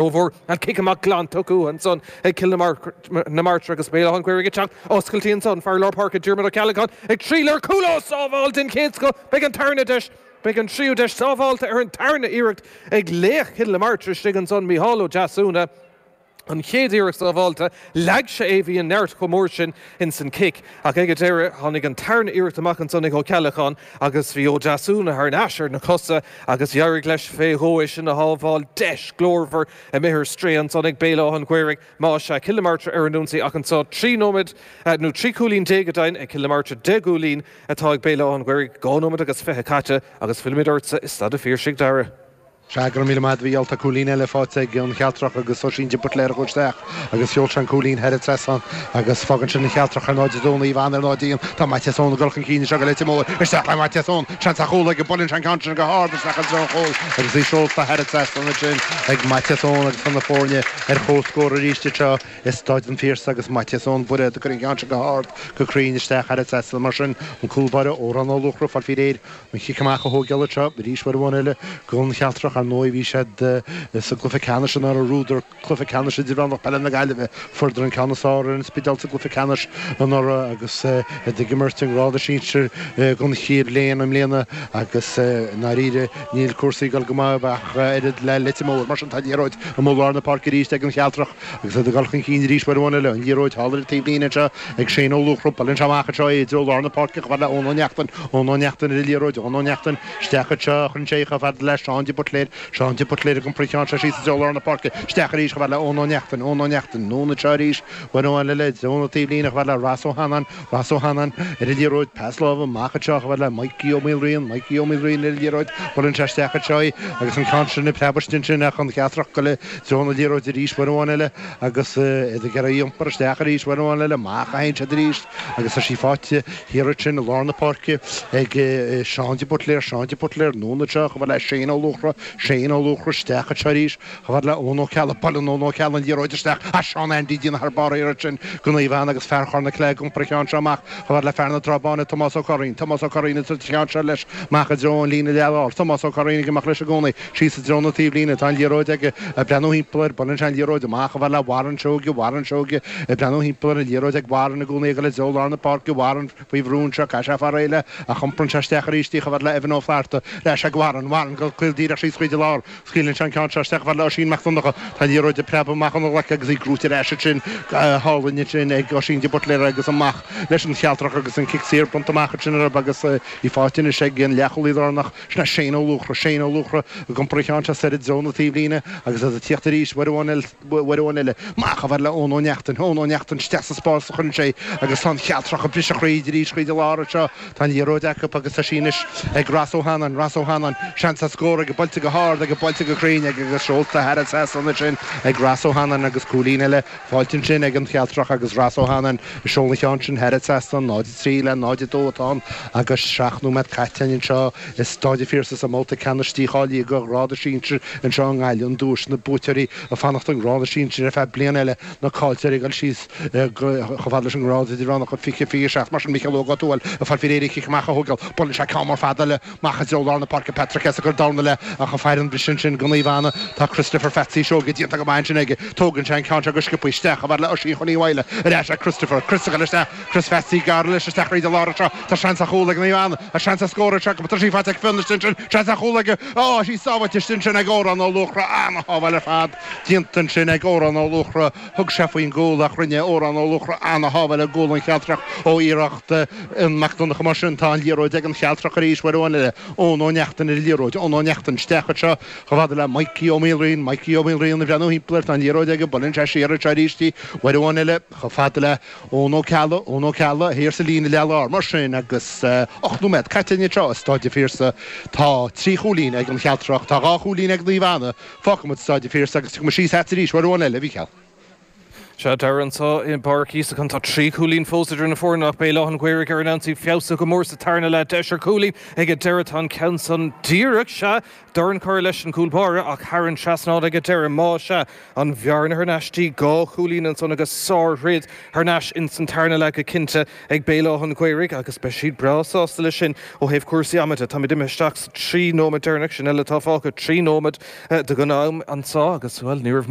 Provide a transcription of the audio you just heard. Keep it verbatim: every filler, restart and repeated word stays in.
Rómhór an cic amach glan tugtha ansan ag Cill na Martra agus Béal Átha an Ghaorthaidh ag teacht oscailte ansan fear lár páirce Diarmuid Ó Ceallacháin ag triall ar chúl ó sábháil den chéad scoth beidh an tarna deis beidh an tríú deis sábháilte ar an tarna iarracht ag laoch Chill na Martra istigh ansan Micheál Ó Deasúna. An chéad iarracht sábháilte leag sé é bhí an neart chomh mór sin ins an cic ach ag an deireadh tháinig an tarna iarracht amach ansan ag Ó Ceallacháin agus bhí Ó Deasúna thar n-ais ar na cosa agus d'éirigh leis fé dhó é sin a shábháil deis glórmhar imithe ar strae ansan ag Béal Átha an Ghaorthaidh más ea Cill na Martra ar an ionsaí ach anseo trí nóiméad nó trí chúilín déag go deimhin ag Cill na Martra deich gcúilín atá ag Béal Átha an Ghaorthaidh dhá nóiméad agus fiche caite agus fillfimid ortsa i Staid an Phiarsaigh Dara. Sea, go raibh míle maith agat a Mhícheáil. Tá cúilín eile faighte ag an Chealtrach agus Oisín de Buitléar a chuaigh isteach agus sheol sé an cúilín thar an trasnán agus fágann sin an Chealtrach ar náid a dó, Naomh Anna ar náid a haon. Tá Maitias Eoin ag dul chun cinn anseo go Leitir Móir. Isteach le Maitias Eoin. Seans ar chúl aige. Buaileann sé an ceann sin go hard isteach i dtreo an chúil agus í seolta thar an trasnán ansin ag Maitias Eoin agus tá na foirne ar comhscór arís anseo i Staid an Phiarsaigh agus Maitias Eoin Bairéad ag cur an ceann sin go hard go cruinn isteach thar an trasnán. Mar sin, an cúl báire Odhrán Ó Luachra ag fáil faoi réir An chic amach a thógáil anseo arís uair amháin eile don Chealtrach. Ar ndóigh bhí siad sa gcluiche ceannais anuraidh, bhuadar cluiche ceannais idirmheánach peile na Gaillimhe. Fuaireadar an ceann is fearr ar an Spidéal sa gcluiche ceannais anuraidh agus iad ag imirt i ngrád sinsir don chéad bhliain i mbliana agus i ndáiríre níl cúrsaí ag dul go maith ach oiread le Leitir Móir. Mar sin tá an liathróid amuigh i lár na páirce arís ag an Chealtrach agus iad ag dul chun cinn arís uair amháin eile. An liathróid thall ar an taobhlíne anseo ag Shane Ó Luachra. Buaileann sé amach anseo é i dtreo lár na páirce chomh fada le Eoin Ó Neachtain. Eoin Ó Neachtain ar an liathróid. Eoin Ó Neachtain isteach anseo. Cuireann sé chomh fada le Seán de Buitléir. Seán de Buitléir ag iompar an cheann seo síos i dtreo lár na páirce. Isteach arís chomh fada le Eoin Ó Neachtain. Eoin Ó Neachtain anonn anseo arís. Uair amháin eile i dtreo na taobhlíne chomh fada le Ross Ó hAnnáin. Ross Ó hAnnáin ar an liathróid. Pas láimhe amach anseo chomh fada le Mikey Ó Maoilriain. Mikey Ó Maoilriain ar an liathróid. Buaileann sé isteach anseo í agus an ceann sin ag preabadh istigh ansin ach an Chealtrach ag dul i dtreo na liathróide arís uair amháin eile agus iad ag iarraidh í a iompar isteach arís uair amháin eile. Amach a théann siad arís agus tá sí faighte thiar ansin i lár na páirce ag Seán de Buitléar, Seán de Buitléar, anonn anseo chomh fada le Shane Ó Luachra, Shane Ó Luachra isteach anseo arís chomh fada le Eoin Ó Ceallaigh, buaileann Eoin Ó Ceallaigh an liathróid isteach ach Seán Andy ag déanamh thar barr thiar ansin do Naomh Anna agus fear Chorr na Cille ag iompar an cheann seo amach chomh fada le fear na Trá Báine, Tomás Ó Curraoin, Tomás Ó Curraoin ag tabhairt an cheann seo leis amach i dtreo an líne leath-láir, Tomás Ó Curraoin ag imeacht leis i gcónaí síos i dtreo na taobhlíne, tá an liathróid aige ag breathnú thimpeall air, buaileann sé an liathróid amach chomh fada le Warren Seoige, Warren Seoige ag breathnú thimpeall ar an liathróid ag Warren i gcónaí ag dul i dtreo lár na páirce, Warren faoi bhrú anseo, caithfidh sé fáil réidh léi ach iomparann sé isteach arís í chomh fada le Evan Ó Flatharta, ar ais ag Warren, Warren go caol díreach síos chuid an lár, scaoileann sé an ceann seo isteach chomh fada le Oisín Mac Donncha, tá an liathróid ag preabadh amach óna ghlac agus í gnóite ar ais ansin go hálainn ansin ag Oisín de Buitléar agus amach leis an Chealtrach agus an cic saor bronnta amach ansin orthu agus í faighte anois ag an leathchúlaí lárnach, sin é Shane Ó Luachra, Shane Ó Luachra ag iompar an cheann seo soir i dtreo na taobhlíne agus iad ag tíocht arís uair amháin uair amháin eile. Amach chomh fada le Eoin Ó Neachtain, Eoin Ó Neachtain isteach sa spás a chuireann sé agus tá an Chealtrach ag briseadh thríd arís thríd an lár anseo. Tá an liathróid acu agus tá sí anois ag Ross Ó hAnnáin, Ross Ó hAnnáin, seans ar scór aige, buailte go hard aige, buailte go cruinn aige agus seolta thar an trasnán ansin ag Ross Ó hAnnáin agus cúilín eile faighte ansin ag an Chealtrach agus Ross Ó HAnnáin ag seoladh an cheann sin thar an trasnán. náid a trí le náid a dó atá ann agus seacht nóiméad caite anseo i Stáid an Phiarsaigh sa mbabhta ceannais dícháilithe do ghrád sinsir anseo i nGaillimh, an duais na buaiteoirí ag fanacht i ngrád sinsir ar feadh bliain eile, na caillteoirí ag dul síos chomh fada leis an ngrád idirmheánach i fiche fiche seacht. Mar sin, Micheál Óg Ó Tuathail ag fáil faoi réir an chic amach a thógáil. Buaileann sé ceann mór fada eile amach i dtreo lár na páirce. Patrick Hess ag cur dorn eile ach an fear an briseadh ansin do Naomh Anna. Tá Christopher Phatsy Seoige déanta go maith ansin aige. Tógann sé an ceann seo go sciobtha isteach chomh fada le Oisín Chóilín Mhaidhle. Ar ais ag Christopher. Chris ag dul isteach. Chris Phatsy gearr leis isteach thríd an lár anseo. Tá seans ar chúl ag Naomh Anna. Tá seans ar scór anseo acu. Tá sí faighte ag Fionn istigh ansin. Seans ar chúl aige. Á, sí sábháilte istigh ansin ag Odhrán Ó Luachra. Ana-shábháil ar fad déanta ansin ag Odhrán Ó Luachra. Thug sé faoin gcúl ach rinne Odhrán Ó Luachra ana-shábháil i gcúl an Chealtrach ó iarracht Fhionn Mac Donncha. Mar sin tá an liathróid ag an Chealtrach arís uair amháin eile. Eoin Ó Neachtain ar an liathróid. Eoin Ó Neachtain isteach anseo chomh fada le Mikey Ó Maoilriain. Mikey Ó Maoilriain ag breathnú thimpeall air. Tá an liathróid aige. Buaileann sé siar anseo arís í uair amháin eile chomh fada le Eoin Ó Ceallaigh, Eoin Ó Ceallaigh, thiar sa líne leath-lár. Mar sin, agus ocht nóiméad caite anseo i Stáid an Phiarsaigh, tá trí chúilín ag an Chealtrach, tá dhá chúilín ag Naomh Anna. Fágfaidh muid Stáid an Phiarsaigh agus tiocfaidh muid síos agat arís uair amháin eile, a Mhícheáil. Sea dar anseo i bPáirc Íosacán tá trí chúilín fós idir na foirne ach Béal Átha an Ghaorthaidh ar an ionsaí feabhsaithe go mór sa tarna leath deis ar chúilín ag an deireadh tá an ceann san díreach sea dorn curtha leis an gcúl báire ach thar an trasnán ag an deireadh má sea an bhearna thar n-ais dtí dhá chúilín ansan agus sárthroid thar n-ais ins an tarna leath go cinnte ag Béal Átha an Ghaorthaidh agus beidh siad breá sásta leis sin ó thaobh cúrsaí ama de Táimid imithe isteach sa trí nóiméad deireanach sin eile atá fágtha trí nóiméad de an am anseo agus well ní raibh